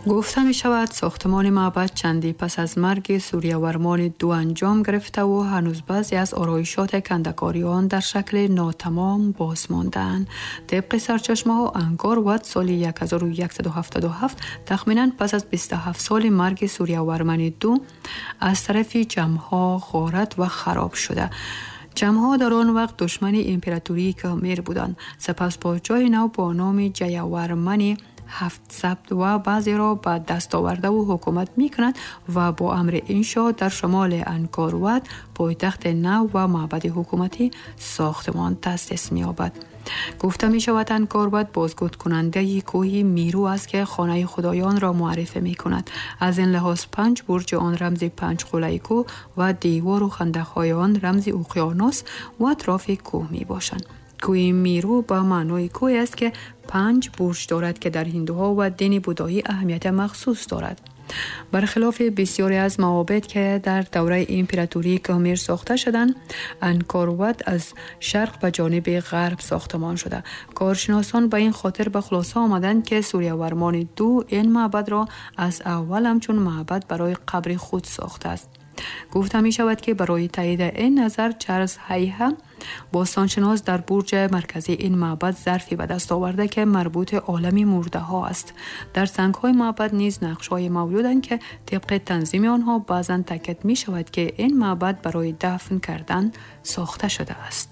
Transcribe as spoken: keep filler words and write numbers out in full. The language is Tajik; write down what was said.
Гуфта мешавад, сохтмони маъбад чанди пас аз марги Сурьявармани ду анҷом гирифта ва ҳанӯз баъзе аз ороишоти кандакории он дар шакли нотамом боз мондаанд. Тибқи сарчашмаҳо, Ангкор Ват соли ҳазору яксаду ҳафтоду ҳафт, тахминан пас аз бисту ҳафт соли марги Сурьявармани ду, аз тарафи чамҳо ғорат ва хароб шуда. Чамҳо дар он вақт душмани императории Кхмер буданд. Сипас подшоҳи нав бо номи Ҷаявармани ҳафт сабт ва баъзеро ба даст овардаву ҳукумат мекунад ва бо амри ин шоҳ дар шимоли Ангкор Ват пойтахти нав ва маъбади ҳукуматӣ сохтмон таъсис меёбад. Гуфта мешавад, Ангкор Ват бозгӯкунандаи кӯҳи Миру аст, ки хонаи худоёнро муаррифӣ мекунад. Аз ин лиҳоз панҷ бурҷи он рамзи панҷ қуллаи кӯҳ ва девору хандақҳои он рамзи уқёнус ва атрофи кӯҳ мебошанд. Кӯҳи Миру ба маънои кӯҳе аст, ки панҷ бурҷ дорад, ки дар ҳиндуҳо ва дини будоӣ аҳамияти махсус дорад. Бархилофи бисёре аз маобед, ки дар давраи императории Кхмер сохта шуданд, Ангкор Ват аз шарқ ба ҷониби ғарб сохтмон шуда. Коршиносон ба ин хотир ба хулоса омаданд, ки Сурьявармани ду ин маъбадро аз аввал ҳамчун маъбад барои қабри худ сохтааст. Гуфта мешавад, ки барои таъйиди ин назар Чарлз Ҳайҳа, бостоншинос, дар бурҷи марказии ин маъбад зарфе ба даст оварда, ки марбути олами мурдаҳо аст. Дар сангҳои маъбад низ нақшҳое мавҷуданд, ки тибқи танзими онҳо баъзан таъкид мешавад, ки ин маъбад барои дафн кардан сохта шудааст.